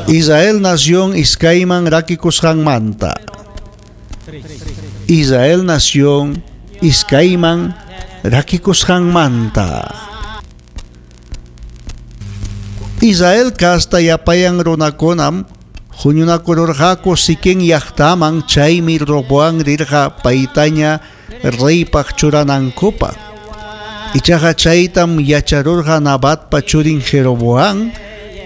Israel nación iskayman rakikusqanmanta. Israel nación iskayman rakikusqanmanta. Israel kasta yapayan runakunam huñunakururqaku Siquem llaqtaman, chaymi Roboam rirqa paytaña reypaq churanankupaq. Ichaqa chaytam yacharurqa Nabatpa churin Jeroboam,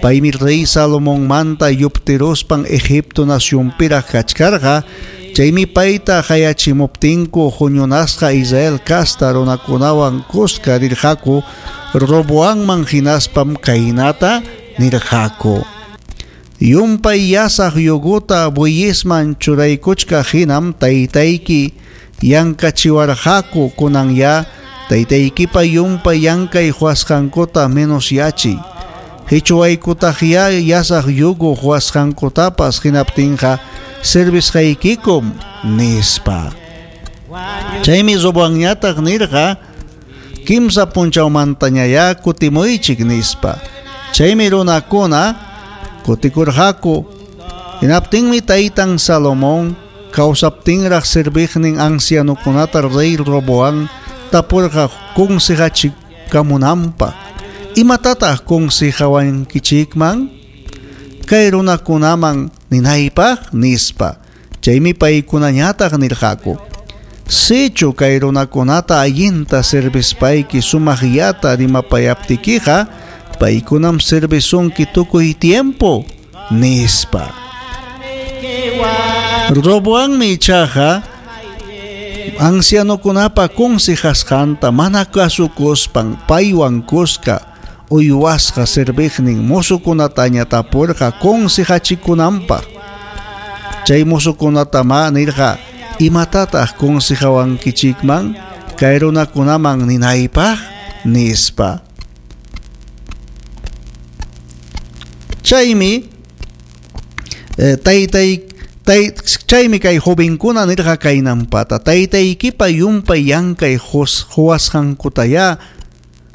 paymi rey Salomonmanta yuptiruspan Egipto nacionpiraq kachkarqa, chaymi payta qayachimuptinku huñunasqa Israel kasta runakunawan kuska rirqaku Roboamman hinaspam kaynata nirqaku: Yumpay yasaq yuguta bueyesman churaykuchkaq hinam taytayki yankachiwarqaku, kunan ya taytaykipa yumpay yankay huasqankuta menos yachiy. Hichuwaykutaq ya yasaq yugu huasqankutapas hinaptinqa servisqaykikum, nispa. Chaymi Roboamñataq nirqa: Kimsa punchawmantañayá kutimuychik, nispa. Chaymi runakuna kutikurqaku. Hinaptinmi taytan Salomón kawsaptinraq serviqnin ancianokunata rey Roboam tapurqa consejachikamunanpaq. Imatataq consejawankichikman kay runakunaman ninaypaq, nispa. Chaymi paykunañataq nirqaku: Sichu kay runakunata allinta servispayki sumaqllata rimapayaptikiqa, paykunam servisunki tukuy tiempo, nispa. Roboammi ichaqa ancianokunapa consejasqanta mana kasukuspan paywan kuska uywasqa serviqnin mozokunataña tapurqa consejachikunanpaq. Chay mozokunatamá nirqa: Imatataq consejawankichikman kay runakunaman ninaypaq, nispa. Chaymi chaymi kay jovenkuna nirqa kaynampata: Taytaykipa yumpay yankay huwasqankutayá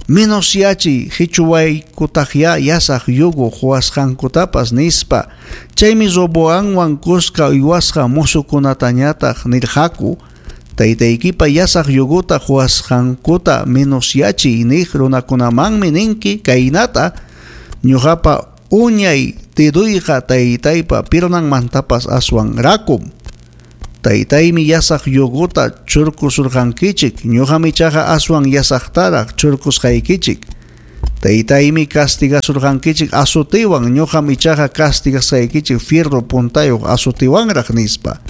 menos yachiy, hichuwaykutaqyá yasaq yugu huwasqankutapas, nispa. Chaymi Roboamwan kuska uywasqa mozokunatañataq nirqaku: Taytaykipa yasaq yuguta huwasqankuta menos yachiy niq runakunamanmi ninki kaynata: Ñuqapa uñay deduyqa taytaypa pirnanmantapas aswan rakum. Taytaymi yasaq yuguta churkusurqankichik, ñuqam ichaqa aswan yasaqtaraq churkusqaykichik. Taytaymi castigasurqankichik azotewan, ñuqam ichaqa castigasqaykichik fierro puntayuq azotewanraq, nispa.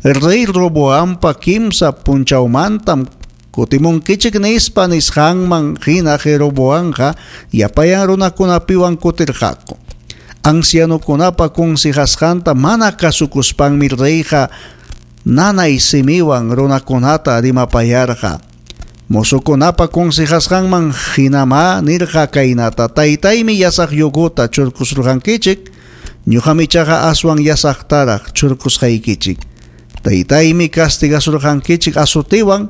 Rey Roboampa kimsa punchawmantam kutimunkichik nispa nisqanman hina Jeroboamqa yapayan runakunapiwan kutirqaku. Ancianokunapa consejasqanta mana kasukuspanmi reyqa nanay simiwan runakunata rimapayarqa. Mozokunapa consejasqanman hinamá nirqa kaynata: Taytaymi yasaq yuguta churkusurqankichik, ñuqam ichaqa aswan yasaqtaraq churkusqaykichik. Taytaymi castigasurqankichik azotewan,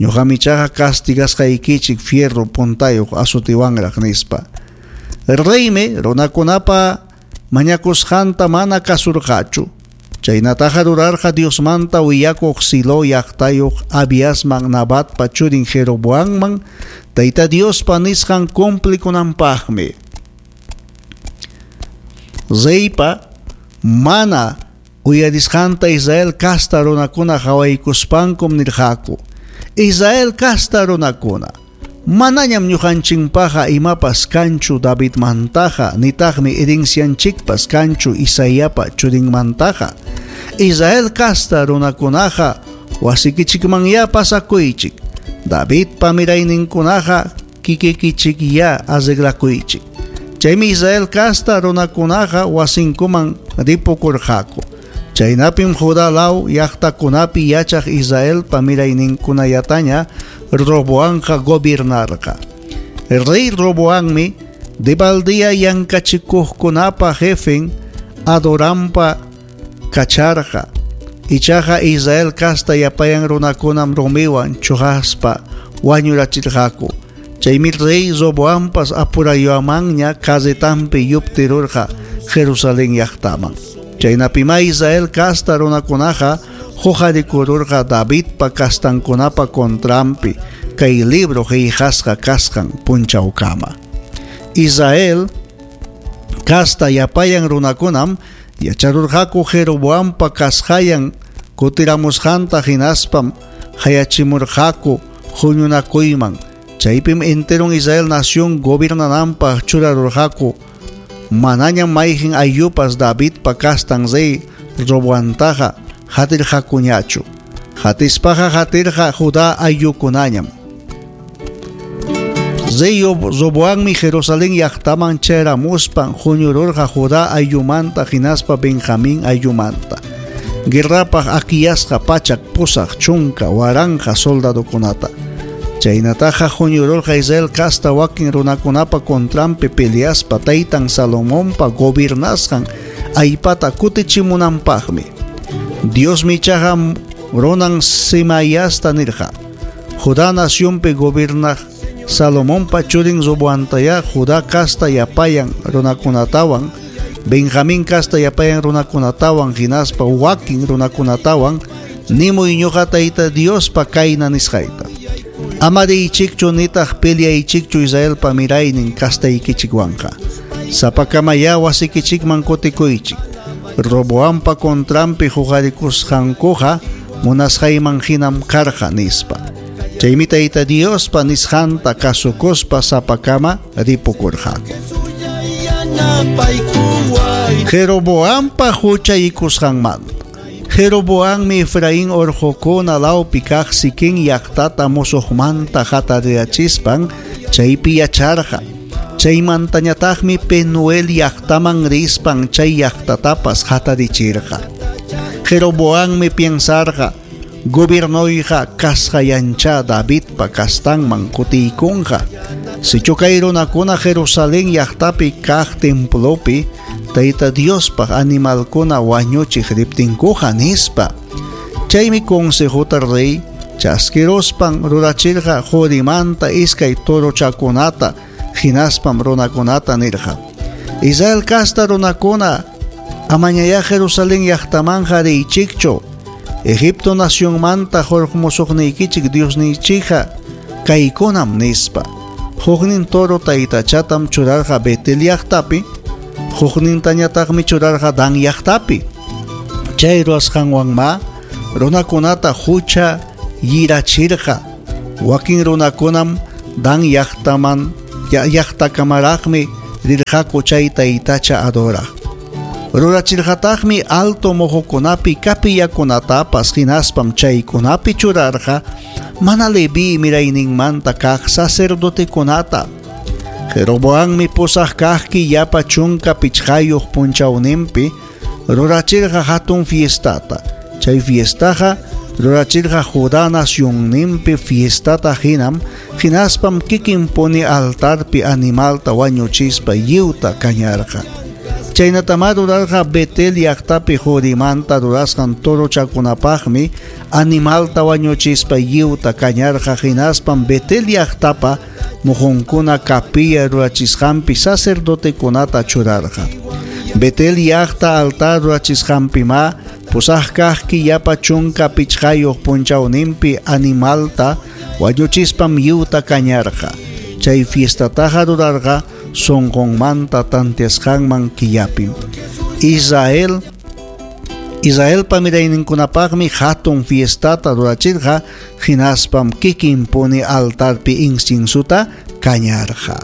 ñuqam ichaqa castigasqaykichik fierro puntayuq azotewanraq, nispa. Reymi runakunapa mañakusqanta mana kasurqachu. Chaynataqa rurarqa Diosmanta willakuq Silo llaqtayuq Abiasman Nabatpa churin Jeroboamman Tayta Diospa nisqan cumplikunanpaqmi. Reypa mana uyarisqanta Israel kasta runakuna qawaykuspankum nirqaku: Israel kasta runakuna, manañam ñuqanchikpaqa imapas kanchu Davidmantaqa, nitaqmi herencianchikpas kanchu Isaiapa churinmantaqa. Israel kasta runakunaqa wasikichikmanyá pasakuychik. Davidpa mirayninkunaqa kikikichikyá arreglakuychik. Chaymi Israel kasta runakunaqa wasinkuman ripukurqaku. Chaynapim Judá law llaqtakunapi yachaq Israelpa mirayninkunallataña Roboamqa gobernarqa. Rey Roboammi debaldía yankachikuqkunapa jefen Adorampa kacharqa. Ichaqa Israel kasta yapayan runakunam rumiwan chuqaspa wañurachirqaku. Chaymi rey Roboampas apurayuamanña carretanpi yuptirurqa Jerusalén llaqtaman. Chaynapimá Israel casta runakunaqa huqarikururqa Davidpa castankunapa contranpi kay libro qillqasqa kasqan punchawkama. Israel casta yapayan runakunam yacharurqaku Jeroboampa kasqayan kutiramusqanta hinaspam qayachimurqaku huñunakuyman. Chaypim enteron Israel nación gobernananpaq churarurqaku. Manañam mayqin ayllupas Davidpa castan rey Roboantaqa hatirqakuñachu. Hatispaqa hatirqa Judá ayllukunañam. Rey Roboammi Jerusalén llaqtaman chayaramuspan huñururqa Judá ayllumanta hinaspa Benjamín ayllumanta. Guerrapaq akiyasqa 880,000 soldadokunata. Chaynataqa huñururqa Israel casta wakin runakunapa contranpi peleaspa taytan Salomonpa gobernasqan allpata kutichimunanpaqmi. Diosmi ichaqa runan Semayasta nirqa: Judá nacionpi gobernaq Salomonpa churin Roboantayá Judá casta yapayan runakunatawan, Benjamín casta yapayan runakunatawan hinaspa wakin runakunatawan nimuy ñuqa Tayta Diospa kayna nisqayta. Ama riychikchu nitaq peleaychikchu Israelpa miraynin castaykichikwanqa. Sapakamayá wasikichikman kutikuychik. Roboampa contranpi huqarikusqankuqa munasqayman hinam karqa nispa. Chaymi Tayta Diospa nisqanta kasukuspa sapakama ripukurqaku. Jeroboampa huchaykusqanmanta. Jeroboammi Efraín orqokuna lawpi kaq Siquem llaqtata musuqmanta hatariyachispan chaypi yacharqa. Chaymantañataqmi Penuel llaqtaman rispan chay llaqtatapas hatarichirqa. Jeroboammi piensarqa gobiernoyqa kasqayancha Davidpa castanman kutiykunqa. Sichu kay runakuna Jerusalén llaqtapi kaq templopi Tayta Diospaq animalkuna wañuchiq riptinkuqa nispa. Chaymi consejota rey chaskiruspan rurachirqa qorimanta iskay torochakunata hinaspam runakunata nirqa: Israel casta runakuna, amañayá Jerusalén llaqtamanqa riychikchu. Egipto nacionmanta hurqumusuqniykichik Diosninchikqa kaykunam nispa. Huknin toro taytachatam churarqa Betel llaqtapi, huknintañataqmi churarqa Dan llaqtapi. Chay ruwasqanwanma runakunata hucha yirachirqa. Wakin runakunam Dan llaqtaman llaqtakamaraqmi rirqaku chay taytacha adoraq. Rurachirqataqmi alto mojokunapi kapillakunatapas hinaspam chaykunapi churarqa mana Leví mirayninmanta kaq sacerdotekunata. Jeroboammi pusaq kaq killapa 15 punchawninpi rurachirqa hatun fiestata. Chay fiestaqa rurachirqa Judá nacionninpi fiestata hinam hinaspam kikinpuni altarpi animalta wañuchispa lliwta kañarqa. Chaynatama rurarqa Betel llaqtapi qorimanta rurasqan torochakunapaqmi animalta wañuchispa lliwta kañarqa hinaspam Betel llaqtapa mujunkuna capilla rurachisqanpi sacerdotekunata churarqa. Betel llaqta altar rurachisqanpima pusaq kaq killapa 15 punchawninpi animalta wañuchispam lliwta kañarqa. Chay fiestataqa rurarqa sunqunmanta tanteasqanman killapim. Israelpa mirayninkunapaqmi hatun fiestata rurachirqa hinaspam kikinpuni altarpi inciensuta kañarqa.